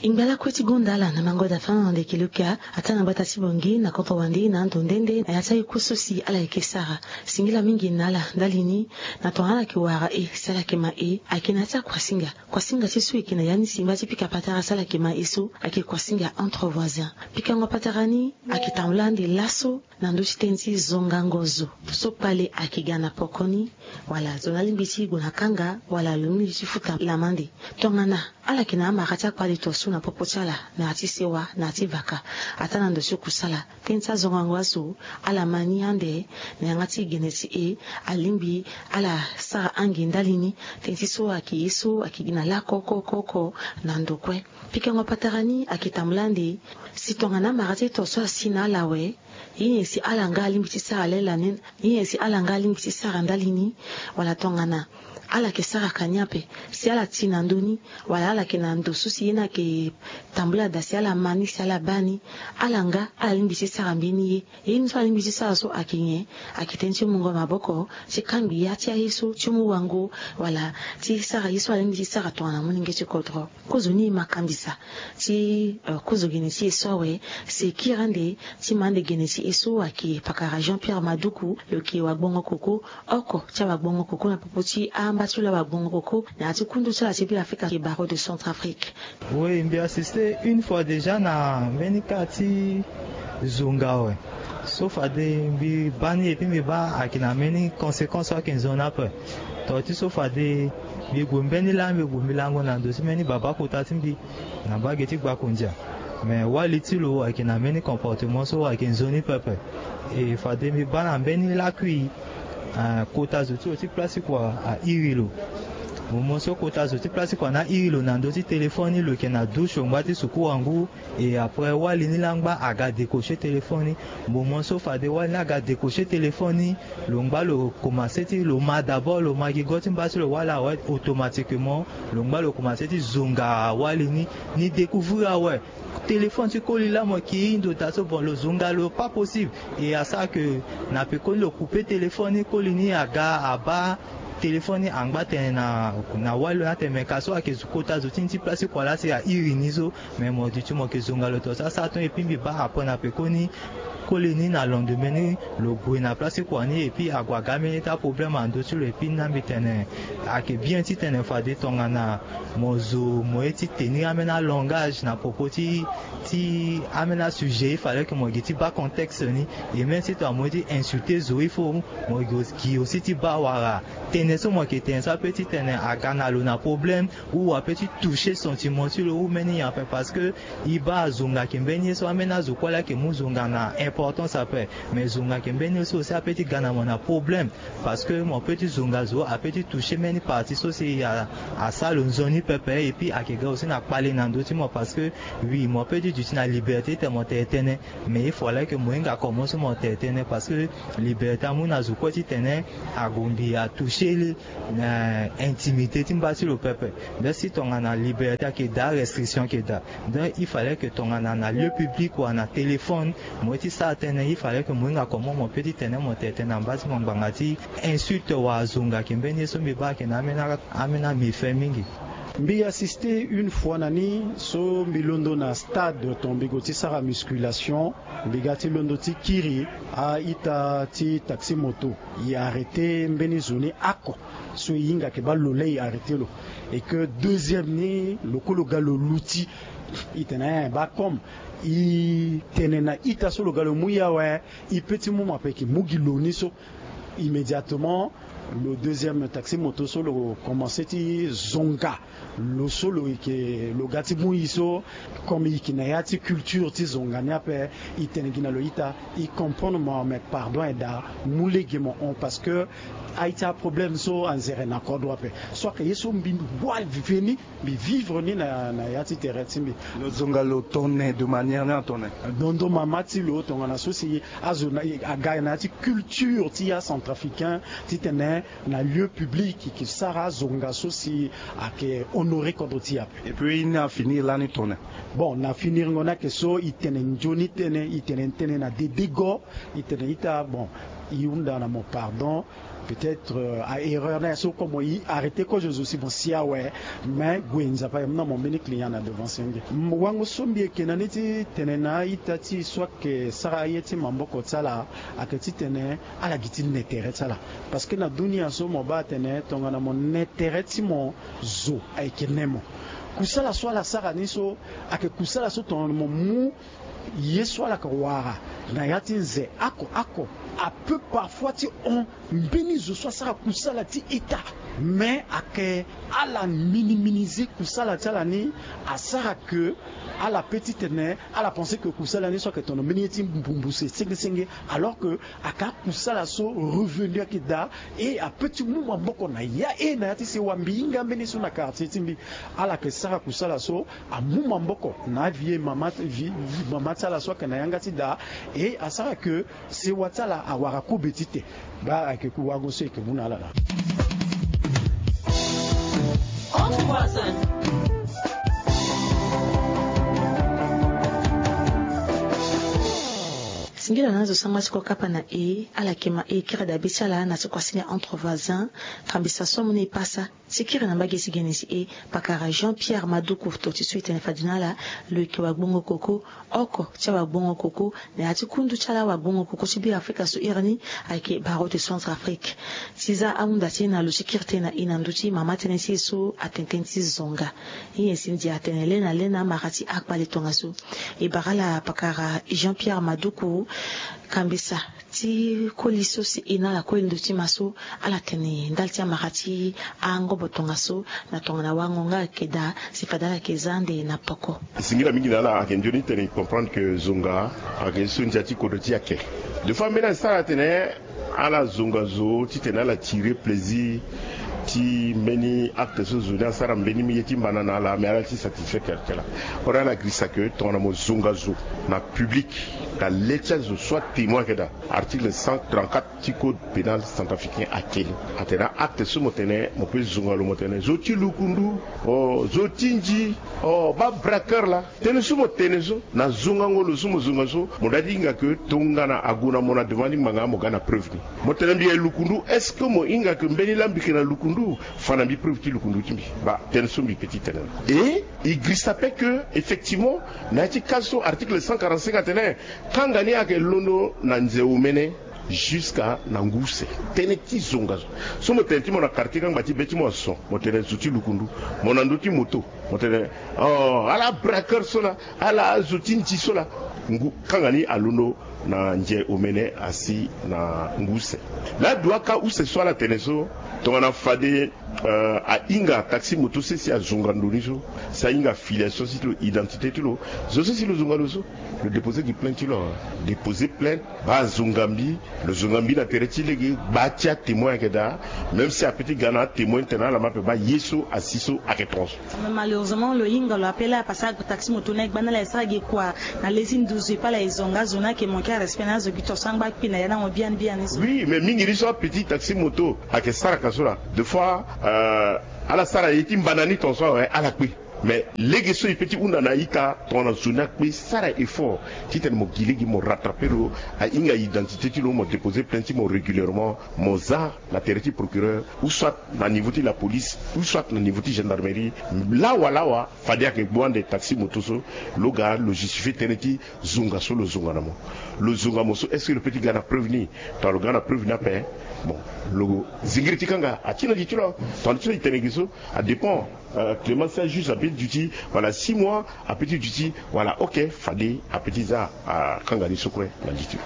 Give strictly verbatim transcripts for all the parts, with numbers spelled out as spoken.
E ngba lakue ti gonda ala na mango da fana na ndeke luka, ata na gbata ti bongi na kodro wande na ando nde nde na ya ti aye ku so si ala yeke sara. Singila mingi na ala ndali ni, na tongana ala yeke wara e si ala yeke ma e, ayeke na ya ti akuasinga. Kuasinga ti so e yeke na ya ni si ngba ti pika patara si ala yeke ma e so ayeke kuasinga entre voisins. Pikango patara ni ayeke tambula ande laso na ndö ti tënë ti zongango zo so kpale ayeke ga na pokoni, wala zo ni alingbi ti gue na kanga, wala lo lingbi ti futa lamande. Tongana ala yeke na amara ti akpale to so na popo ti ala, na ya ti sewa, na ya ti vaka, ata na ndo ti kusala, tënë ti azongango azo ala ma ni ande na yanga ti gene ti e. Alingbi ala sara ange ndali ni, tënë ti so ayeke ye so ayeke gi na lakoko oko oko na ndo kue. Pikango patara ni ayeke tambula ande si tongana amara ti e to so asi na ala awe, ye nyen si ala nga alingbi ti sara lele na ni, ye nyen si ala nga alingbi ti sara ndali ni, wala tongana ala yeke sara ka ni ape, si ala ti na ndö ni, wala ala yeke na ndo so si ye ni ayeke tambula daa si ala ma ni, si ala baa ni, ala nga ala lingbi ti sara mbeni ye. Ye ni so ala lingbi ti sara so ayeke nyen? Ayeke tënë ti mungo maboko, ti kangbi ya ti aye so, ti mu wango, wala ti sara ye so ala lingbi ti sara tongana molenge ti kodro. Kozo ni e ma kambisa ti, eh, kozo gene ti e so awe, si e kiri ande ti ma ande gene ti e so ayeke pakara Jean Pierre Maduku, lo yeke wagbongo koko, oko ti awagbongo koko na popo ti amba ti lo awagbongo koko na ya ti kundu ti ala ti Beafrika, ayeke Barreau de Centrafrique. Oui, mbi assiste une fois déjà na mbeni cas ti zonga awe. So fade mbi baa ni, et puis mbi baa ayeke na mbeni conséquence so ayeke nzoni ape. Tongana ti so fade mbi gue mbeni laa, mbi gue mbi lango na ndo ti mbeni baba kota ti mbi na mbage ti Gbakondia. Mais wali ti lo ayeke na mbeni comportement so ayeke nzoni pepe. E fade mbi baa na mbeni lakui, eh, kota zo ti lo ti place ti kua airi lo. Moment so kota zo ti place ti kua ni airi lo na ndö ti téléphone ni, lo yeke na douche, lo ngba ti suku wangu. Et après, wali ni laa ngba aga décocher téléphone ni. Moment so fade wali ni aga décocher téléphone ni, lo ngba lo commencé ti lo ma d'abord, lo ma gi go ti mba ti lo wala awe, automatiquement lo ngba lo commencé ti zonga wali ni. Ni découvrir awe téléphone ti koli laa mo yeke hiri ndo daa so, bon, lo zonga lo pas possible. Et asara ke na pekoni lo couper téléphone ni, koli ni aga abaa téléphone ni, angba tene na, na wali lo ni atene me ka so ayeke kota zo ti ni ti place ti kua laa si airi ni so. Mais mo duti mo yeke zonga lo to so asara ton. Et puis mbi baa après na pekoni koli ni na lendemain ni lo gue na place ti kua ni, et puis ague aga ambeni ti aproblème na ndö ti lo. Et puis ni laa mbi tene ayeke bien titene fade tongana mo zo mo ye ti tenir ambeni alangage na propos ti, ti ambeni asujet, il fallait que mo gi ti baa contexte ni. Et même si tongana mo ye ti insulter zo, il faut mo gi aussi ti baa wala tënë so mo yeke tene so ape titene aga na lo na problème, ou ape ti toucher sentiment ti lo ou mbeni nyen ape. Parce que e baa zonga ayeke mbeni ye so ambeni azo kue laa ayeke mu zonga na importance ape. Mais zonga ayeke mbeni ye so aussi ape ti ga na mo na problème. Parce que mo peut ti zonga zo, ape ti toucher mbeni partie so si a, asara lo nzoni pepe. Et puis ayeke ga aussi na kpale na ndö ti mo, parce que oui, mo peut ti duti na liberté titene mo tene tënë, mais il fallait que mo hinga comment so mo tene tënë, parce que liberté amu na zo kue titene agombi atoucher na intimité ti mba ti lo pepe. Nde si tongana liberté ayeke daa, restriction ayeke daa. Donc il fallait que tongana na lieu public wala na téléphone mo ye ti sara tënë, il fallait que mo hinga comment mo peut ti tene mo tene tënë na mba ti mo ngbanga ti insulte wala zonga ayeke mbeni ye so mbi baa ayeke na ambeni, ambeni améfait mingi. Mbi assiste une fois na ni so mbi londo na stade, ton mbi gue ti sara musculation, mbi ga ti londo ti kiri a-ita ti taxi moto. E arrêter mbeni zo ni oko so e hinga ayeke baa lo laa e arrêter lo. Et que deuxième ni lo kue lo ga lo luti. E tene eh, baa comme e tene na ita so lo ga lo mu ye awe, e peut ti mu mo ape, e yeke mu gi lo ni so. Immédiatement lo deuxième taxi moto so lo commencer ti zonga lo so lo yeke, lo ga ti mu e so. Comme e yeke na ya ti culture ti zonga ni ape, e tene gi na lo ita, e comprendre mo, mais pardon aye daa, mu lege mo hon, parce que aye ti aproblème so anzere na kodro ape. So ayeke ye so mbi wara veni, mbi vivre ni na, na ya ti tere ti mbi. Lo zonga lo tene de manière ni atene? Dondo mama ti lo tongana so si azo na, aga na ya ti culture ti acentrafricain titene na lieu public e yeke sara azonga so si ayeke honorer kodro ti e ape. Et puis e ni afinir lani tene? Bon, na finirengo ni ayeke so e tene nzoni tënë, e tene tënë na dedego. E tene ita, bon, E hunda na mo pardon, peut-être a erreur na ya so kue mo e arrêter kozo zo si mo si awe. Mais gue Nzapa e mu na mo mbeni client na devant senge. Wango so mbi yeke na ni ti tene na a-ita ti e so ayeke sara aye ti maboko ti ala, ayeke titene ala gi ti ne tere ti ala. Parce que na dunia so mo baa atene tongana mo ne tere ti mo, zo ayeke ne mo. Kusala so ala sara ni so ayeke kusala so tongana mo mu ye so ala yeke wara na ya ti nze oko oko, a peut parfois ti hon mbeni zo so asara kusala ti ita. Mais ayeke ala minimiser kusala ti ala ni, asara ke ala pe titene ala penser ke kusala ni so ayeke tono mbeni ye ti mbumbuse senge senge, alors que ayeke akusala so revenu ayeke daa. E a peut ti mu maboko na ya, e na ya ti sewa mbi hinga mbeni so na quartier ti mbi. Ala yeke sara kusala so amu maboko na avie mama, vie, vie mama ti ala so ayeke na yanga ti daa. E asara ke sewa ti ala awara kobe tite. Baa ayeke ku wango so e yeke mu na ala laa. Singila na azo sangba ti kokapa na e ala yeke ma e kiri dabe ti ala na ti kuasini ya Entre Voisins. Kambisa so amu na e pasa ti kiri na mbage ti gene ti e, pakara Jean Pierre Maduku, to ti so e tene fade na ala lo yeke wagbongo koko, oko ti awagbongo koko na ya ti kundu ti ala awagbongo koko ti Be Afrika so iri ni ayeke Barreau de Centrafrique. Ti za ahunda ti e na lo ti kiri tënë na e na ndö ti mama tënë ti e so atene tënë ti zonga. Nyen si ndia atene le na le na amara ti akpale tongaso. E bara ala pakara Jean Pierre Maduku, kambisa ti koli so si e na ala kue ndö ti ma so ala tene ndali ti amara ti angobo tongaso na tongana wango nga ayeke daa si fade ala yeke za ande na poko. E singila mingi na ala, ayeke nzoni tene e comprendre ke zonga ayeke so ndia ti kodro ti e ayeke. Des fois mbeni asara atene ala zonga zo titene ala tirer plaisir ti mbeni acte so zo ni asara mbeni ye ti mbana na ala, mais ala ti satisfait kere ti ala. Ora ala girisa ke tongana mo zonga zo na public na le ti azo so atémoin ayeke daa, article cent trente-quatre ti code pénal centrafricain akeli. Atene acte so mo tene mo pe zonga lo, mo tene zo ti lukundu, o zo ti nzi, o ba braqueur laa. Tënë so mo tene so na zongango lo so mo zonga so, mo dua ti hinga ke tongana ague na mo na devant ti ngbanga, mo ga na preuve ni. Mo tene mbi ye lukundu, est-ce que mo hinga ke mbeni laa mbi yeke na lukundu? Fa na mbi preuve ti lukundu ti mbi. Ba tënë so mbi pe ti tene na e, e girisa pe ke effectivement na ya ti cas so article cent quarante-cinq atene kanga ni ayeke londo na nze omene jusqu'à na ngu use. Tënë ti zonga zo so mo tene ti mo na quartier kangba ti be ti mo ason, mo tene zo ti lukundu. Mo na ndö ti moto, mo tene, oh, ala braqueur so laa, ala azo ti nzi so laa. Ngu kanga ni alondo na nze omene asi na ngu use. Laa dua ka use so ala tene so, tongana fade, euh, ahinga taxi moto sese azonga ndo ni so, si ahinga filiation ti lo, identité ti lo, zo sese lo zonga lo so, lo déposer gi plainte ti lo awe. Déposer plainte, ba zonga mbi, lo zonga mbi na tere ti lege, ba ti atémoin ayeke daa. Même si ape ti ga na atémoin ti tene ala ma ape, ba ye so asi so ayeke tongaso. Mais malheureusement lo hinga lo ape laa, parce que taxi moto ni agba na ala, e sara gi kua na le ti nduzu, e pe ala e zonga zo ni ayeke manquer arespect na azo gi to sangba akpi na ya na mo biani biani so. Oui, mais mingi ni so ape ti taxi moto ayeke sara ka so laa. Des fois, euh, ala sara ye ti mbana ni tongaso awe, ala kpe. Mais lege so e pe ti hunda na a-ita tongana zo ni akpe, sara effort titene mo gi lege mo rattraper lo, ahinga identité ti lo, mo déposer plainte ti mo régulièrement, mo za na tere ti procureur, ou soit na niveau ti la police, ou soit na niveau ti gendarmerie. Lawa lawa fade ayeke gbu ande taxi moto so, lo ga lo justifier tënë ti zonga so lo zonga na mo. Lo zonga mo so, est-ce que lo pe ti ga na preuve ni? Tongana lo ga na preuve ni ape, bon, lo zingiri ti kanga ati na li ti lo. Tongana ti so e tene gi so, a dépend. Euh, Clément, si ajuge ape ti duti, voilà, six mois ape ti duti, voilà, ok, fade ape ti za akanga ni so kue na li ti lo.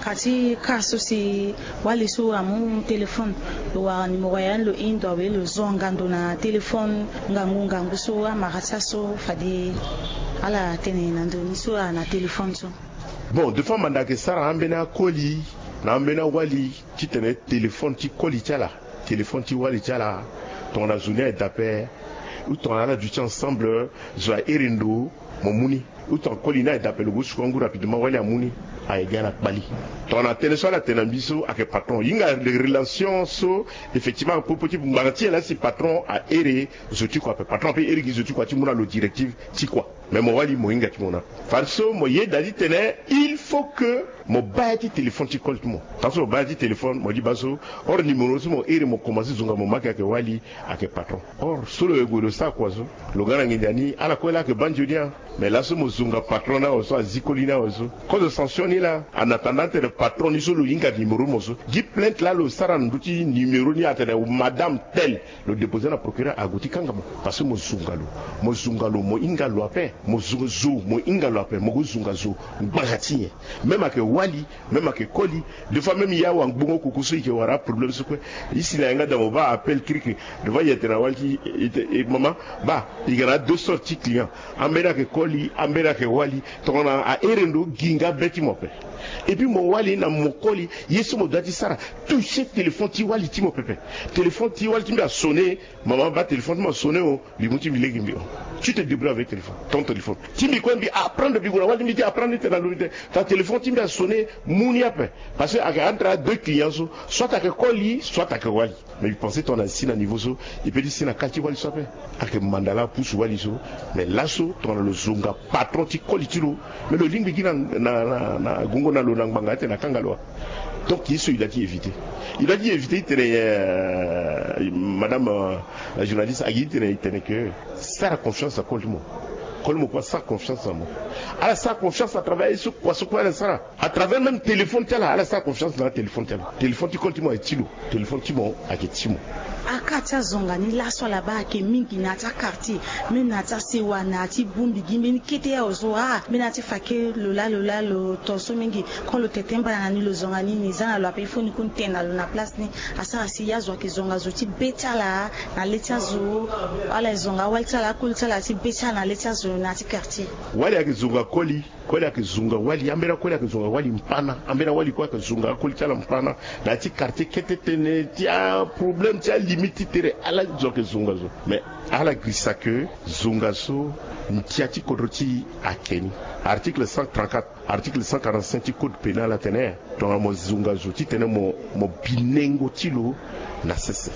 Ka ti ka so si wali so amu téléphone, lo wara numéro ya ni, lo hinga ndo awe, lo zonga ndo na téléphone ngangu ngangu so amara ti aso fade ala tene na ndo ni so na téléphone so. Bon, des fois manda ayeke sara ambeni akoli na ambeni awali titene téléphone ti koli ti ala, téléphone ti wali ti ala, tongana zo ni aye d'appel ou tongana ala duti ensemble, zo ahere ndo, mo mu ni. Ou tongana koli ni aye d'appel, lo gue suku angu rapidement, wali amu ni, aye ga na kpali. Tongana tënë so ala tene na mbi so ayeke patron, hinga relation so effectivement popo ti ngbanga ti e laa si patron ahere zo ti kua ape, patron ape here gi zo ti kua ti mu na lo directive ti kua. Mais mo wali mo hinga ti mo na fade so mo yeda ti tene il Faut que mo baa ya ti téléphone ti koli ti mo. Tant so mo baa ya ti téléphone mo li baa so, or numéro so mo iri mo komanse zonga mo ma ke ayeke wali, ayeke patron. Or so lo ye gue lo sara kua so, lo ga na nginza ni ala kue laa ayeke baa nzoni ya. Mais laso mo zonga patron ni awe so azi koli ni awe so, cause sanction ni laa. En attendant tene patron ni so lo hinga numéro mo so gi plainte laa lo sara na ndö ti numéro ni atene madame tel, lo déposer na procureur ague ti kanga mo. Parce que mo zonga lo, mo zonga lo mo hinga lo ape. Mo zo zo mo hinga lo ape mo gue zonga zo. Ngbanga ti nyen? Même ayeke wali, même ayeke koli. Des fois même ya wa ngbongo koko so i ke wara aproblème so kue. I si na yanga da mo baa appel kiriki. Des fois i yete na wali ti i te- i mama, baa i ga na deux sortes ti client. Ambeni ayeke koli, ambeni ayeke wali. Tongana ahere ndo gi nga be ti mo ape. Et puis mo wali na mo koli, ye so mo doit ti sara, toucher téléphone ti wali ti mo pepe. Téléphone ti wali ti mbi asonne. Mama, baa téléphone ti mo asonne o. Mbi mu ti mbi lege mbi o. Tu te débrouilles avec téléphone, ton téléphone. Ti mbi kue mbi apprendre, mbi gue na wali ti mbi ti apprendre ti tene na lo mbi te, ta téléphone ti mbi asonne. Mu ni ape. Parce que ayeke entre a deux clients so, soit ayeke koli, soit ayeke wali. Mais mbi pense tongana si na niveau so, e peut ti si na kali ti wali so ape. Ayeke manda laa apusu wali so. Mais laso tongana lo zonga patron ti koli ti lo, mais lo lingbi gi na na na na gongo na lo na ngbanga atene akanga lo wa. Donc ye so il doit ti éviter. Il doit ti éviter i tene euh, madame euh, la journaliste agi i tene i tene ke sara confiance na koli ti mo. Koli mo kue asara confiance na mo. Ala sara confiance à travers ye so kua so kue ala sara. À travers même téléphone ti ala, ala sara confiance na téléphone ti ala. Téléphone ti koli ti mo ayeke ti lo. Téléphone ti mo ayeke ti mo. Aka ti azonga ni laso ala baa ayeke mingi na ya ti akartier. Même na ya ti asewa na ya ti bongbi gi mbeni kete awe so ah mbeni ya ti fake lo laa lo laa lo to so mingi. Quand lo tete mbana na ni lo zonga ni ni za na lo ape il faut ni kue ni tene na lo na place ni. Asara si azo ayeke zonga zo ti be ti ala na le ti azo. Ala e zonga awali ti ala akoli ti ala ti be ti ala na le ti azo na ya ti quartier. Wali ayeke zonga koli. Koli ayeke zonga wali ambeni akoli ayeke zonga wali mpana ambeni awali kue ayeke zonga akoli ti ala mpana. Na ya ti quartier kete tënë ti aproblème ti alimite ti tere ala zo ayeke zonga zo. Mais ala girisa ke zonga so ndia ti kodro ti e ayeke ni. Article cent trente-quatre, article cent quarante-cinq ti code pénal atene tongana mo zonga zo titene mo mo bi nengo ti lo na sese,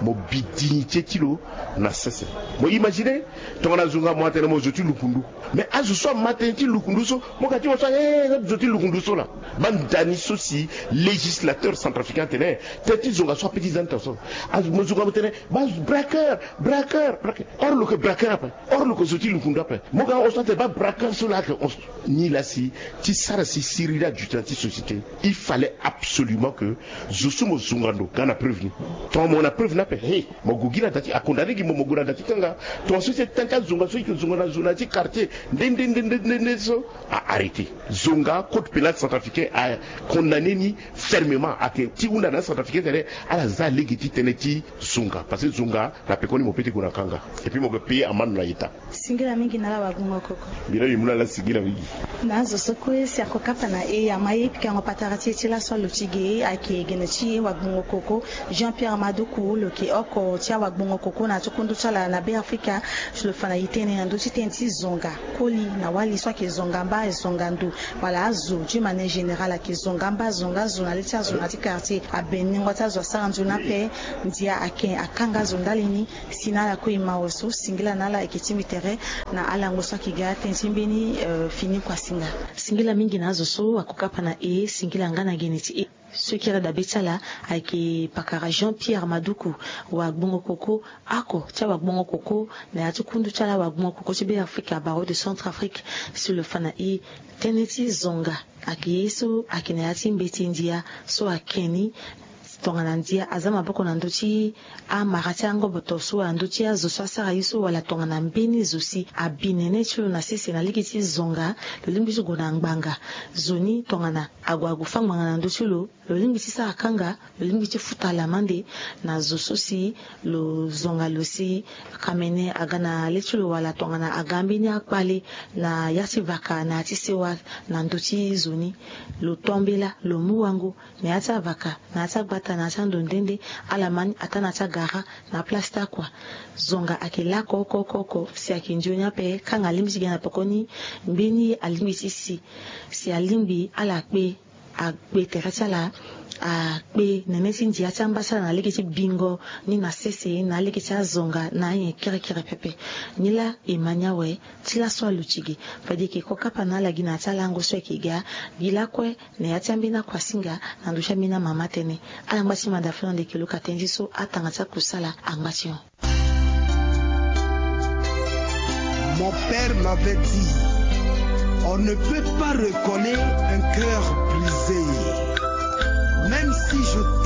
mo bi dignité ti lo na sese. Mo imagine tongana zonga mo atene mo zo ti lukundu. Mais azo so ama tënë ti lukundu so mo ga ti mo so aye na zo ti lukundu so laa. Baa ndani so si législateur centrafricain atene tënë ti zonga so ape ti za ni tongaso. Azo mo zonga mo tene baa braqueur, braqueur, braqueur. Or lo yeke braqueur ape. Or lo yeke zo ti lukundu ape. Mo ga hon so atene baa braqueur so laa ayeke hon so. Ni laa si ti sara si siriri aduti na ti société, il fallait absolument que zo so mo zonga ndo ga na preuve ni. Tongana mo na preuve ni ape he mo gue gi na da ti akondane gi mo mo gue na da ti kanga. Tongaso ti tënë ti azonga so i yeke zonga na zo na ya ti quartier nde nde nde nde nde so. A arrêter zonga. Code pénal centrafricain a condamné ni fermement. Ayeke ti hunda na acentrafricain tene ala za lege ti tënë ti zonga parce que zonga na pekoni mo peut ti gue na kanga. Et puis mo yeke payer amande na état. Singila mingi na ala wagbongo koko. Mbi na mbi mu na ala singila mingi. Na azo so kue si ako kapa na e ama ye pikango patara ti e ti laso alo ti ge ayeke gene ti e wagbongo koko Jean Pierre Maduku lo yeke oko ti awagbongo koko na ya ti kundu ti ala na Be Afrika. Ti lo fa na e tënë na ndö ti tënë ti zonga koli na wali so ayeke zonga mba zonga ndo wala azo d'une manière générale ayeke zonga mba zonga zo na le ti azo na ya ti quartier abenengo ti azo asara nzoni ape. Ndia ayeke akanga zo ndali ni. Si na ala kue e ma awe so singila na ala ayeke ti mbi tere na alango so ayeke ga atënë ti mbeni fini kua singa. Singila mingi na azo so ako kapa na e singila nga na gene ti e. So e kiri dabe ti ala ayeke pakara Jean Pierre Maduku wagbongo koko oko ti awagbongo koko na ya ti kundu ti ala wagbongo koko ti Be Afrika barreau de Centrafrique. Si lo fa na e tënë ti zonga ayeke ye so ayeke na ya ti mbeti ndia so ayeke ni. Tongana ndia aza maboko na ndö ti amara ti angoboto so wala ndö ti azo so asara ye so wala tongana mbeni zo si abi nene ti lo na sese na lege ti zonga. Lo lingbi ti gue na ngbanga zo ni tongana ague ague fâ ngbanga na ndö ti lo. Lo lingbi ti sara kanga. Lo lingbi ti futa lamande na zo so si lo zonga lo si kamene aga na le ti lo wala tongana aga mbeni akpale na ya ti vaka na ya ti sewa na ndö ti zo ni. Lo to mbela lo mu wango na ya ti avaka na ya ti agbata na ya ti ando nde nde. Ala ma ni ataa na ya ti agara na aplace ti akua. Zonga ayeke lako oko oko oko si ayeke nzoni ape kanga alingbi ti gi na pekoni. Mbeni ye alingbi ti si si alingbi ala kpe Akpe tere ti ala, akpe nene ti ndia ti amba ti ala na lege ti bingo ni na sese na lege ti azonga na anyen kerekere pepe. Nilaa e ma ni awe ti laso aluti ge. Fade e yeke kokapa na ala gi na ya ti alango so ayeke ga gi lakue na ya ti ambeni akuasinga na ndö ti ambeni amama tënë. Ala ngba ti manda fini ande e yeke luka tënë ti so atanga ti akusala angba ti hon. Mon père m'avait dit, on ne peut pas recoller un cœur brisé.